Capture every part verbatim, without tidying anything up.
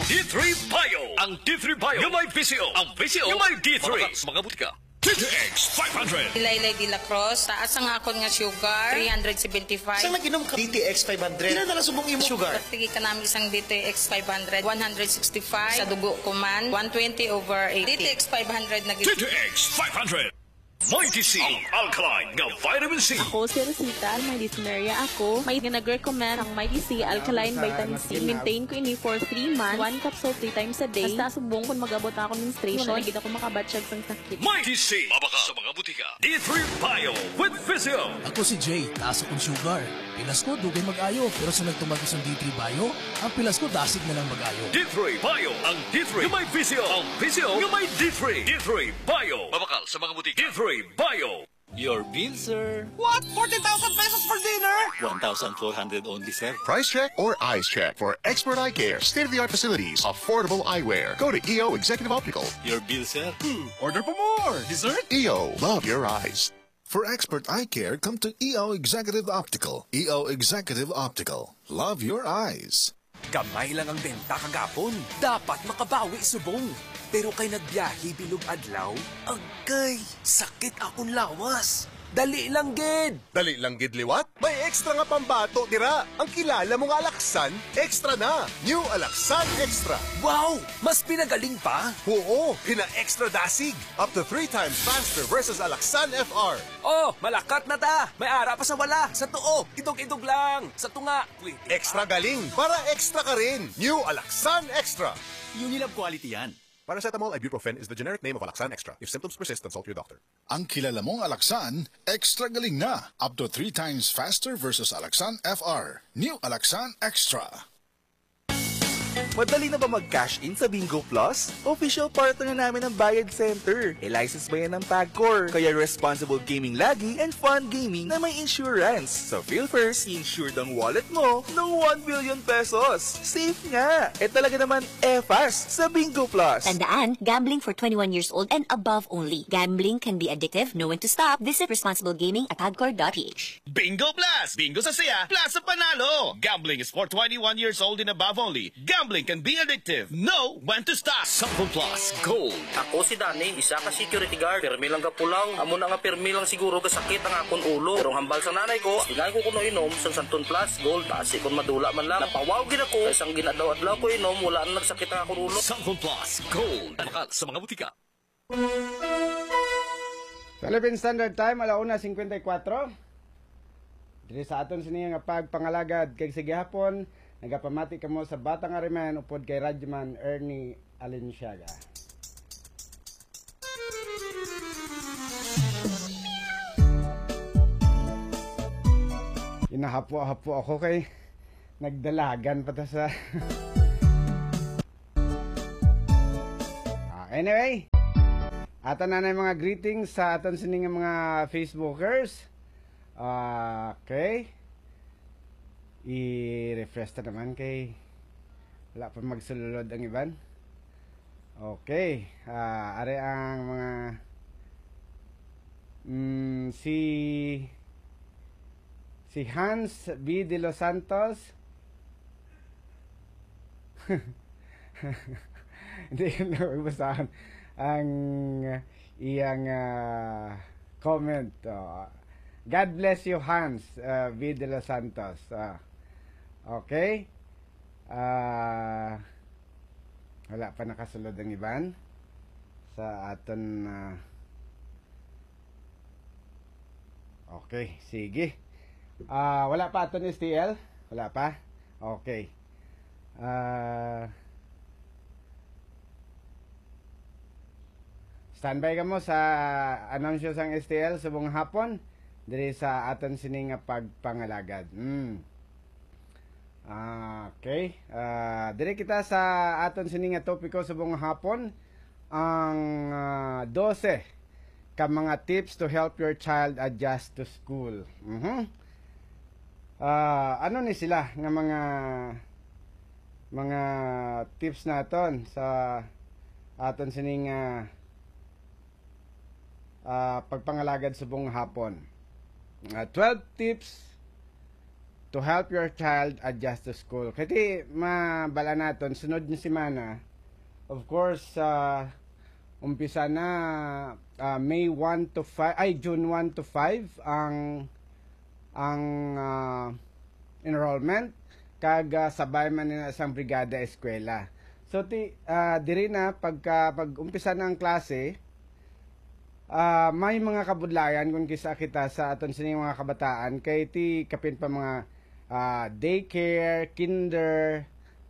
D three Bio. Ang D three Bio nga may V C O. Ang V C O nga may D three. Mabakal sa mga butika. D T X five hundred. Laylay de la Cruz, taas ang akon nga sugar, three hundred seventy-five. Sa nag-inom ka D T X five hundred, pila na lang subong imong sugar? Sige ka namin isang D T X five hundred, one hundred sixty-five. Sa dugo ko man, one twenty over eighty. D T X five hundred na gid. D T X five hundred. Mighty C, ang alkaline nga vitamin C. Ako si Rosita, may dysmenorrhea ako. May nga nag-recommend ang Mighty C alkaline vitamin C. Maintain ko ini for three months, one capsule three times a day. Hasta subong kung mag-abot na ako menstruation, hindi ako makabatyag sang sakit. Mighty C, mabakal sa mga butika. D three Bio with Physio. Ako si Jay, taas akong sugar. Pilas ko, dugay mag-ayo, pero sa nagtumag ko sang D three Bio, ang pilas ko dasig na lang mag-ayo. D three Bio, ang D three nga may V C O, ang V C O nga may D three. D three Bio. Mabakal sa mga butika. D three Bio. Your bill, sir. What? Forty thousand pesos for dinner? One thousand four hundred only, sir. Price check or eyes check for expert eye care, state-of-the-art facilities, affordable eyewear. Go to E O Executive Optical. Your bill, sir. Hmm, order pa more. Dessert? E O, love your eyes. For expert eye care, come to E O Executive Optical. E O Executive Optical. Love your eyes. Gamay lang ang benta kagapon. Dapat makabawi subong. Pero kay nagbiyahe bilog adlaw, agkay, sakit akon lawas. Dali lang gid. Dali lang gid liwat? May extra nga pambato dira. Ang kilala mo nga Alaksan, extra na. New Alaksan Extra. Wow! Mas pinagaling pa? Oo, pina-extra dasig. Up to three times faster versus Alaksan F R. Oh, malakat na ta! May ara pa sa wala, sa tuo, idog-idog lang, sa tunga, pwede. Extra galing, para extra ka rin. New Alaksan Extra. Unilab quality yan. Paracetamol ibuprofen is the generic name of Alaksan Extra. If symptoms persist, consult your doctor. Ang kilala mong Alaksan, extra galing na. Up to three times faster versus Alaksan F R. New Alaksan Extra. Madali na ba mag-cash in sa Bingo Plus? Official partner na namin ang Bayad Center. E-license ba yan ng Pagcor? Kaya responsible gaming lagi and fun gaming na may insurance. Sa PhilFirst, insured ang wallet mo ng one billion pesos. Safe nga! E talaga naman, e-fast sa Bingo Plus. Tandaan, gambling for twenty-one years old and above only. Gambling can be addictive. Know when to stop. Visit responsible gaming at pagcor dot P H. Bingo Plus! Bingo sa saya, plus sa panalo! Gambling is for twenty-one years old and above only. Gambling can be addictive. Know when to stop. Sample Plus Gold. Ako si Danny, isa ka security guard. Pirmi lang gapulaw. Amo na nga pirmi lang siguro gasakit ang akon ulo. Pero ang hambal sa nanay ko, ingay ko kuno inom sang Santon Plus Gold. Basi kon madula man lang. Napawaw gid ako. Kay sang gin-adlaw-adlaw ko inom, wala na nagsakit ang akon ulo. Sample Plus Gold. Mabakal sa mga butika. Philippine Standard Time, ala una cincuenta y cuatro. Diri sa aton sini nga pagpangalagad kag sa gihapon, nagapamati kamo sa Batang Ariman upod kay Radyoman Ernie Alenciaga. Ginahapo-hapo ako kay nagdalagan pa ta sa Ah, anyway, ato na na yung mga greetings sa aton sini nga mga Facebookers. Ah, okay. I-refresh ta naman kay wala pa magsulod ang iban. Okay. Ah, are ang mga, mm, si, si Hans B de los Santos. Hindi ko na mabasaan ang iyang, ah, comment. Oh. God bless you, Hans, ah, V de los Santos. Ah. Okay. Ah, wala pa nakasulod ang iban sa aton, ah, okay, sige. Ah, wala pa aton S T L? Wala pa? Okay. Ah, standby kamo sa anunsyo sang S T L subong hapon diri sa aton sini nga pagpangalagad. Mm. Ah, okay. Ah, diri kita sa aton sini nga topiko subong hapon, ang, ah, dose ka mga tips to help your child adjust to school. Mhm. Ah, ano ni sila nga mga, mga tips naton sa aton sining, ah, ah, pagpangalagad subong hapon? Ah, twelve tips to help your child adjust to school. Kay mabal-an naton, sunod nga semana, of course, ah, umpisa na, ah, May one to five, ay, June one to five ang, ang, ah, enrollment, kag, ah, sabay man nila sang brigada eskwela. So, ti, ah, diri na, pagka, pag-umpisa na ang klase, ah, may mga kabudlayan kung kis-a kita sa aton sining mga kabataan, kay ti kapin pa mga, ah, daycare, kinder,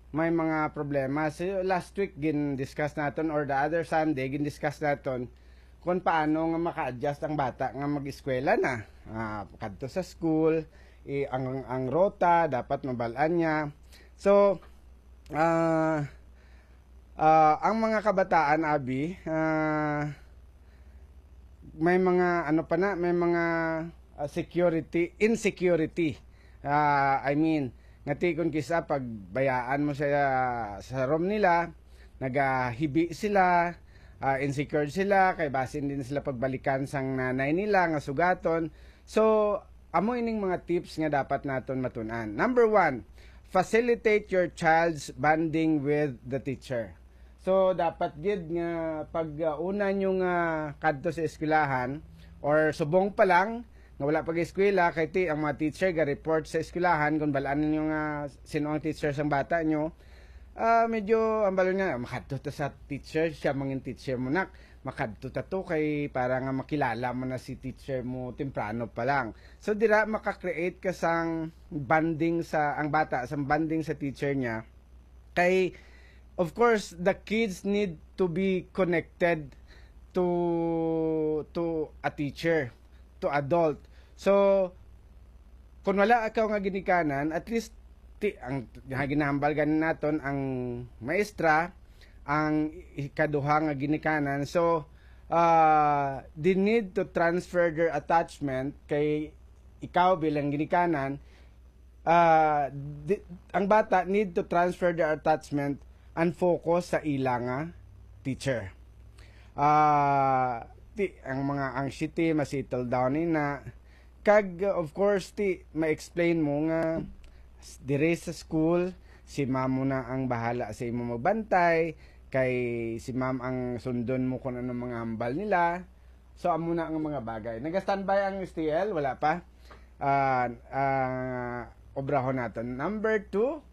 may mga problema. So, last week gin-discuss naton, or the other Sunday gin-discuss naton kung paano nga maka-adjust ang bata nga mag-eskwela na. Ah, kadto sa school, i-, ang, ang rota dapat mabal-an niya. So, ah, ah, ang mga kabataan, abi, ah, may mga, ano pa na, may mga, ah, security, insecurity. Ah, I mean, nga ti kung kis-a pagbayaan mo sa, sa room nila, nagahibi sila, ah, insecure sila, kay basin di na sila pagbalikan sang nanay nila nga sugaton. So, amo ining mga tips nga dapat naton matun-an. Number one, facilitate your child's bonding with the teacher. So, dapat gid nga pag, uh, una nyo nga kadto sa eskwelahan, or subong pa lang, nga wala pag-eskwela, kay ti, ang mga teacher ga-report sa eskwelahan kung bal-an ninyo nga sino ang teacher sang bata nyo. Ah, medyo ang balon nga, "Makadto ta sa teacher, siya mangin teacher mo, nak. Makadto ta to kay para nga makilala mo na si teacher mo temprano pa lang." So, dira maka-create ka sang bonding sa, ang bata, sang bonding sa teacher niya. Kay, of course, the kids need to be connected to, to a teacher, to adult. So, kung wala ikaw nga ginikanan, at least, ti, ang, nga ginahambal gani naton ang maestra, ang ikaduha nga ginikanan. So, ah, they need to transfer their attachment kay ikaw bilang ginikanan. Ah, di, ang bata need to transfer their attachment and focus sa ila nga teacher. Ah, ti, ang mga anxiety, ma-settle down ni na. Kag, of course, ti, ma-explain mo nga s-, dire sa school, si ma'am mo na ang bahala sa imo magbantay, kay si ma'am ang sundon mo kung ano mga hambal nila. So, amo na ang mga bagay. Naga-standby ang S T L? Wala pa. Ah, ah, obrahon naton. Number two,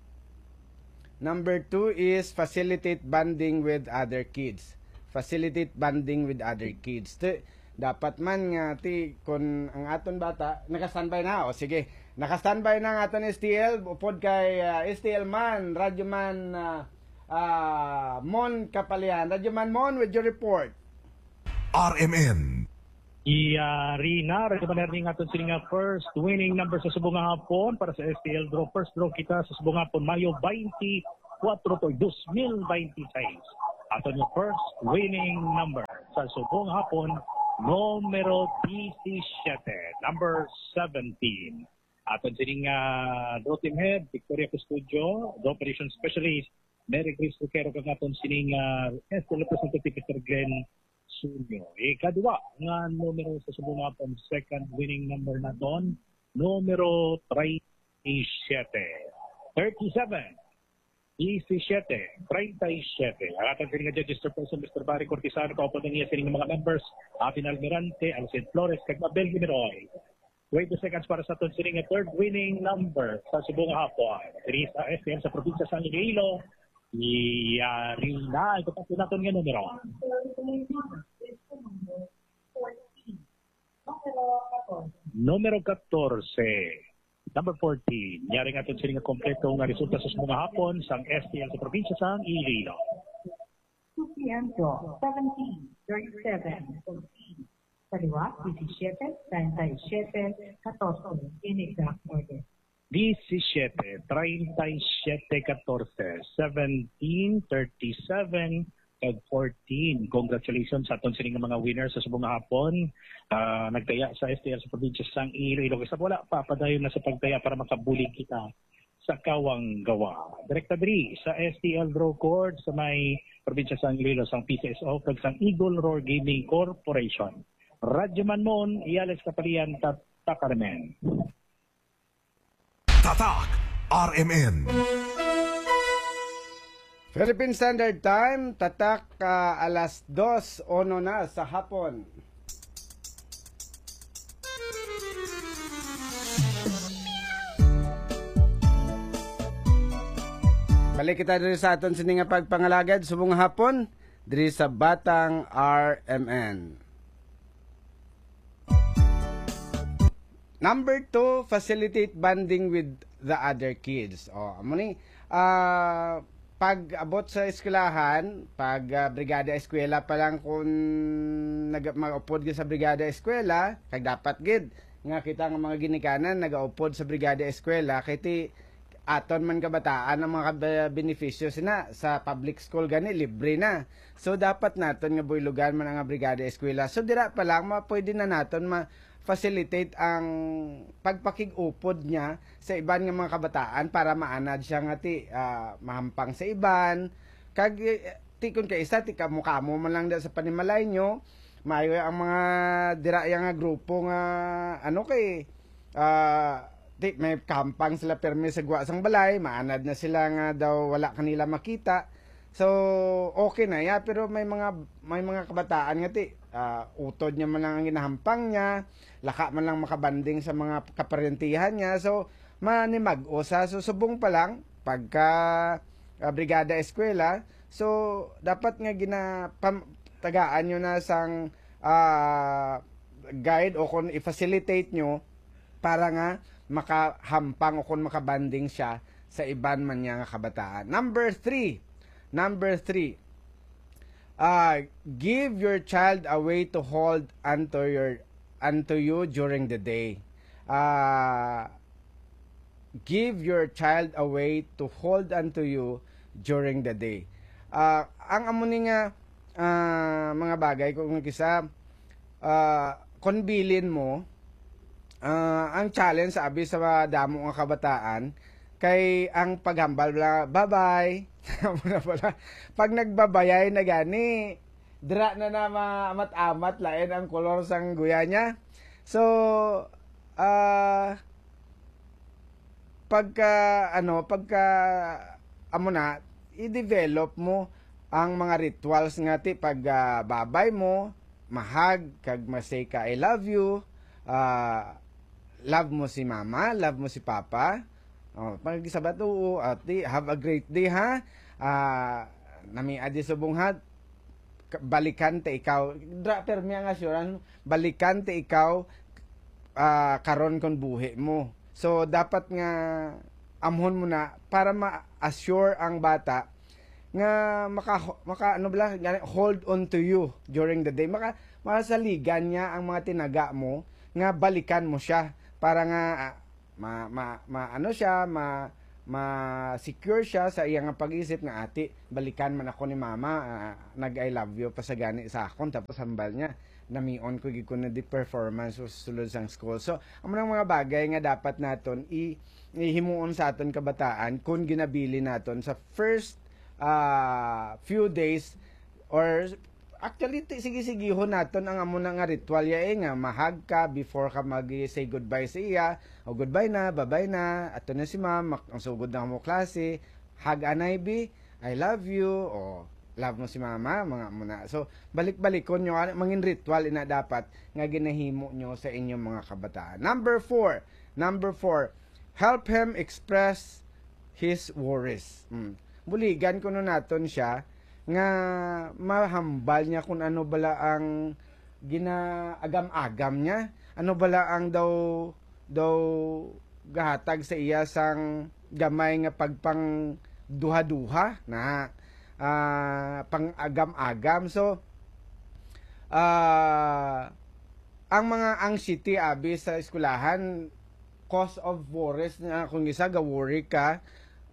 number two is facilitate bonding with other kids. Facilitate bonding with other kids. Ti, dapat man nga, ti, kung ang aton bata, naka-standby na, o sige, naka-standby na ang aton S T L, upod kay, ah, S T L man, Radyo Man, ah, ah, Mon Kapalian. Radyo Man Mon, with your report. R M N. Yari na, Radyo Man Ernie, nga aton sini nga first winning number sa subong nga hapon para sa S T L draw. First draw kita sa subong nga hapon, Mayo twenty-four to dos mil twenty-six. Aton nga first winning number sa subong nga hapon, numero disisiete, number seventeen. Aton sining ah, draw team head, Victoria Custodio, draw operation specialist, Mary Grace Roquero, kag aton sining ah, S T L representative, Mister Glenn Sunyo. Ikadua nga numero sa subong nga hapon, second winning number naton, numero treinta y siete. Thirty-seven, disisiete, treinta y siete. Ang aton kini nga judges chairperson, Mister Barry Cortizano, kaupod ang iya sining mga members, Atin Almirante, Alcid Flores, kag Mabel Gimiroy. Twenty seconds para sa aton sining nga third winning number sa subong nga hapon. Diri sa S T L sa probinsya sang Iloilo, yari na. Ito pa po naton nga numero. Numero katorse. Number fourteen. Yari nga aton sini nga kompleto nga resulta sa subong nga hapon sang S T L sa probinsya sang Iloilo. Supliento, seventeen, thirty-seven, fourteen. Kaliwa, disisiete, treinta y siete, katorse, in exact order. Disisiete, treinta y siete, katorse, seventeen, thirty-seven, kag fourteen. Congratulations sa aton sini nga mga winners sa subong nga hapon. Ah, nagtaya sa S T L sa probinsya sang Iloilo. Kay sa wala pa, padayon na sa pagtaya para makabulig kita sa Kawang Gawa. Direkta diri sa S T L Draw Court sa may probinsya sang Iloilo, sang P C S O, kag sang Eagle Roar Gaming Corporation. Radyo Man Mon, Alex Kapalian, Tata Carmen. Tatak R M N. Philippine Standard Time, tatak, ah, alas dos uno na sa hapon. Balik kita diri sa aton sini nga pagpangalagad subong hapon diri sa Batang R M N. Number two, facilitate bonding with the other kids. O, amo ni, ah, pag abot sa eskwelahan, pag, ah, brigada eskwela pa lang, kung nag-, mag-upod ka sa brigada eskwela, kag dapat gid nga kita nga mga ginikanan nagaupod sa brigada eskwela, kay ti aton man kabataan ang mga kab-, benepisyo sina sa public school gani, libre na. So, dapat naton nga buylogan man ang brigada eskwela. So, dira pa lang, ma-, pwede na naton ma-facilitate ang pagpakig-upod niya sa iban nga mga kabataan para maanad siya nga ti, ah, mahampang sa iban. Kag, eh, ti kun kaisa, ti kamo-kamo man lang da sa panimalay nyo, maayo ang mga dira ya nga grupo nga, ano, kay, ah, ti, may kahampang sila permi sa gwa sang balay, maanad na sila nga daw wala kanila makita. So, okay na ya, pero may mga, may mga kabataan nga ti, ah, utod niya man lang ang ginahampang niya, laka man lang makabanding sa mga kaparentihan niya. So, manimag-o sa, so, subong pa lang, pagka, ah, brigada eskwela, so, dapat nga gina-, pam-, tagaan nyo na sang, ah, guide o kung i-facilitate nyo para nga makahampang o kung makabanding siya sa iban man niya nga kabataan. Number three. Number three. Ah, give your child a way to hold unto your, unto you during the day. Ah, give your child a way to hold unto you during the day. Ah, ang amo ni nga, ah, mga bagay, kung kisa, ah, kon bilin mo, ah, ang challenge sa abi sa mga damo nga kabataan kay ang paghambal bala, "Bye-bye." Amo na pala. Pag nagbabayay na gani, dira na na maamat-amat lain ang kolor sang guya niya. So, ah, pagka, ano, pagka, amo na, i-develop mo ang mga rituals nga ti pag, ah, babay mo, mahag, kag ma-say ka, "I love you," ah, love mo si mama, love mo si papa. Oh, pag sabat, "Oo, ati, have a great day, ha? Ah, nami adi subong, ha? Ka-, balikan ta ikaw." Dra, permi ang assurance mo, "Balikan ta ikaw, ah, karon kon buhi mo." So, dapat nga amhon mo na para ma-assure ang bata nga maka, maka, ano bala, gani, hold on to you during the day. Maka, masaligan niya ang mga tinaga mo nga balikan mo siya para nga, ah, ma, ma, ma, ano siya, ma, ma-secure siya sa iya nga pag-isip nga, "Ati, balikan man ako ni mama, ah, nag-I love you pa sa gani sa akon," tapos hambal niya, "Namion ko gid ko na di performance sa sulod sang school." So, amo nang mga bagay nga dapat naton i-, ihimuon sa aton kabataan kung ginabilin naton sa first, ah, few days or actually, ti-, sige-sigihon naton ang amo na nga ritual ya, eh, nga mahag ka before ka mag-say goodbye sa iya, o, "Goodbye na, babay na, ato na si ma'am, mak-, ang sugod na mo klase, hag anay bi, I love you," o, "Love mo si mama," mga amo na. So, balik-balikon nyo, ano, mangin ritual ina dapat nga ginahimo nyo sa inyong mga kabataan. Number four, number four, help him express his worries. Mm. Buligan kuno naton siya nga mahambal niya kung ano bala ang ginaagam-agam niya, ano bala ang daw, daw gahatag sa iya sang gamay nga pagpangduha-duha na, ah, pang-agam-agam. So, ah, ang mga anxiety abi sa eskwelahan, cause of worries na kung isa ga-worry ka,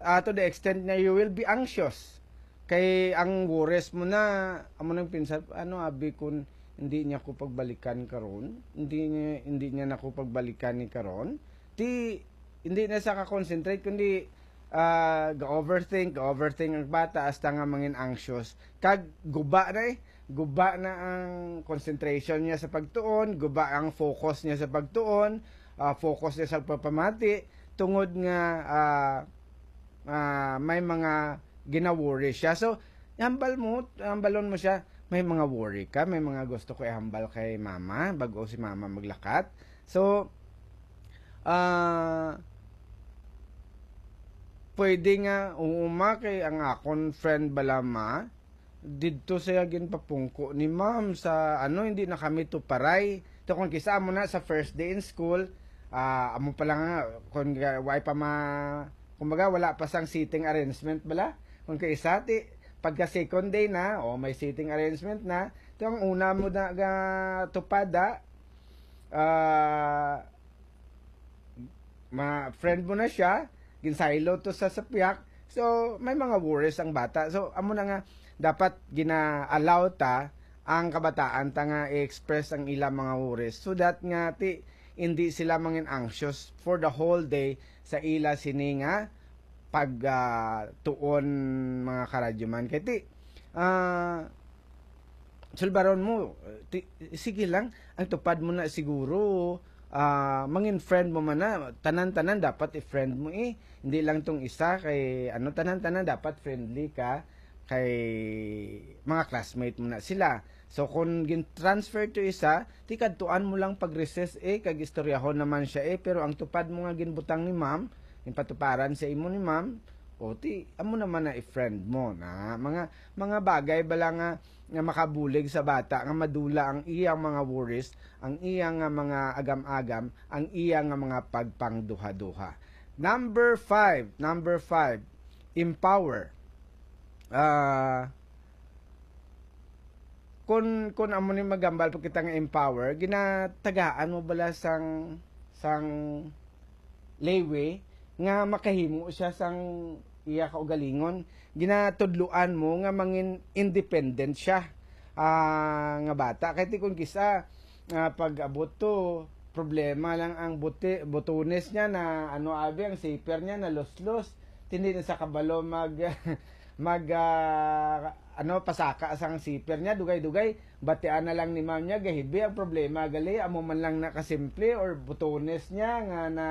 ah, to the extent na you will be anxious. Kay ang worries mo na, amo nang pinsan, "Ano abi kung hindi niya ko pagbalikan karon? Hindi niya, hindi niya na ko pagbalikan ni karon?" Ti, hindi na sa ka-concentrate, kundi, ah, ga-overthink, ga-overthink ang bata hasta nga mangin anxious. Kag guba na eh. Guba na ang concentration niya sa pagtuon, guba ang focus niya sa pagtuon, ah, focus niya sa pagpamati. tungod nga, ah, ah, may mga gina-worry siya. So, hambal mo, hambalon mo siya, "May mga worry ka, may mga gusto ko ihambal kay mama, bago si mama maglakat." So, ah, pwede nga, "Oo, ma, kay ang akon friend bala, ma, didto siya ginpapungko ni ma'am sa, ano, hindi na kami tuparay." To, kung kisa amo na sa first day in school, ah, amo pa lang nga, kung ga-, way pa ma-, kumbaga, wala pa sang seating arrangement bala. Kung kaisa, ti, pagka second day na, o may seating arrangement na, to, ang una mo na ga tupada, ah, ma-, friend mo na siya, ginsaylo to sa sapyak. So, may mga worries ang bata. So, amo na nga, dapat gina-allow ta ang kabataan ta nga i-express ang ila mga worries, so that nga ti, hindi sila mangin anxious for the whole day sa ila sini nga pag, ah, tuon, mga karadyoman. Kay ti, ah, sulbaron mo, ti, sige lang, ang tupad mo na siguro, ah, mangin friend mo man na, tanan-tanan dapat i-friend mo eh. Hindi lang tong isa kay, ano, tanan-tanan dapat friendly ka kay mga classmate mo na sila. So, kung gin-transfer to isa, ti kadtuan mo lang pag recess eh, kag istoryahon naman siya eh, pero ang tupad mo nga ginbutang ni ma'am, ginpatuparan sa imo ni ma'am, o ti, amo naman na i-friend mo na. Mga, mga bagay bala nga, nga makabulig sa bata nga madula ang iyang mga worries, ang iyang nga mga agam-agam, ang iyang nga mga pagpangduha-duha. Number five, number five, empower. Ah, kun, kun amo ni magambal pa kita nga empower, ginatagaan mo bala sang, sang leeway nga makahimo siya sang iya kaugalingon? Ginatudloan mo nga mangin independent siya, ah, nga bata. Kay ti kun kisa, ah, pag-abot to, problema lang ang buti, butones niya na, ano, abi, ang zipper niya na luslos. Ti hindi na sa kabalo mag, mag, ah, ano, pasaka sang zipper niya, dugay-dugay, batian na lang ni ma'am niya, gahibi ang problema, gali, amo man lang na kasimple or butones niya nga na,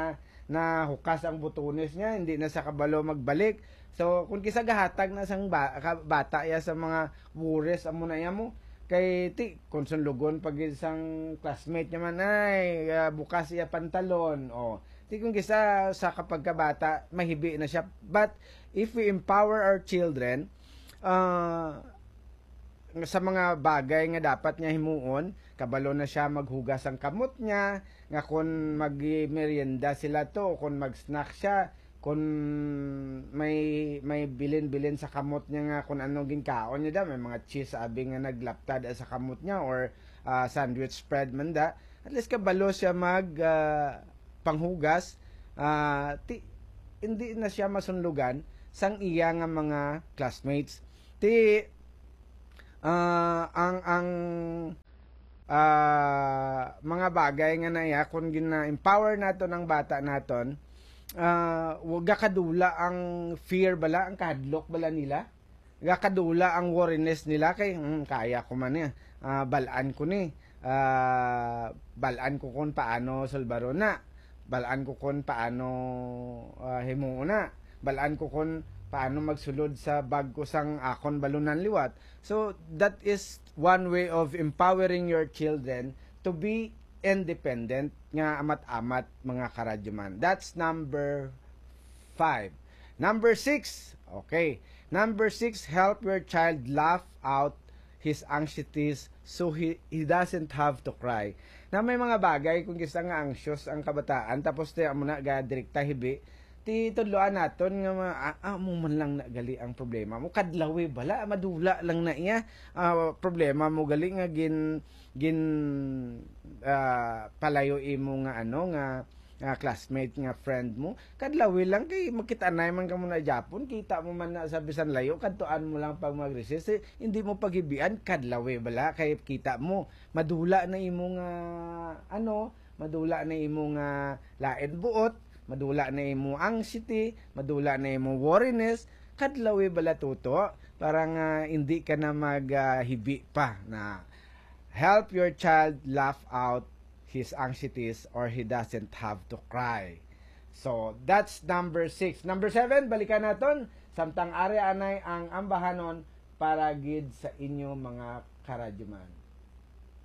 nahukas ang butones niya, hindi na sa kabalo magbalik. So, kung kisa gahatag na sang ba-, ka-, bata ya sa mga worries, amo na ya mo, kay ti, kung sunlugon pa gid sang classmate niya man, ay, ah, bukas iya pantalon, o. Ti kung kisa sa kapagkabata, mahibi na siya. But if we empower our children, ah, sa mga bagay nga dapat niya himuon, kabalo na siya maghugas ang kamot niya, nga kung mag-merienda sila to, o kung mag-snack siya, kung may, may bilin-bilin sa kamot niya nga kung ano ginkaon niya da, may mga cheese abi nga naglaptad sa kamot niya, or, ah, sandwich spread man da, at least kabalo siya mag, ah, panghugas, ah, ti-, hindi na siya masunlugan sang iya nga mga classmates. Ti, ah, ang, ang, ah, mga bagay nga na iya, kung gina-empower naton ang bata naton, ah, wa-, gakadula ang fear bala, ang kahadlok bala nila. Gakadula ang worriness nila kay, "Hmm, kaya ko man ni. Ah, bal-an ko ni. Ah, bal-an ko kon paano sulbaron na. Bal-an ko kon paano, ah, himuon na. Bal-an ko kon paano magsulod sa bag ko sang akon balunan liwat." So, that is one way of empowering your children to be independent nga amat-amat, mga karadyoman. That's number five. Number six, okay. Number six, help your child laugh out his anxieties so he, he doesn't have to cry. Na may mga bagay, kung kisa nga anxious ang kabataan, tapos ti amo na ga direkta hibi, ti tudloan naton nga ma-, ah, ah, amo man lang na gali ang problema mo. Kadlawi bala, madula lang na iya. Ah, problema mo gali nga gin, gin, ah, palayo imo nga ano, nga, ah, classmate, nga friend mo. Kadlawi lang kay makita na man kamo na Japon, kita mo man na sa bisan layo, kadtuan mo lang pag mag-recess, eh, hindi mo paghibian, kadlawi bala kay kita mo, madula na imo nga, ano, madula na imo nga lain buot, madula na imo anxiety, madula na imo worriness, kadlawi bala tuto, para nga hindi ka na mag, ah, hibi pa na. Help your child laugh out his anxieties or he doesn't have to cry. So, that's number six. Number seven, balikan naton, samtang ari anay ang ambahanon para gid sa inyo mga karadyoman.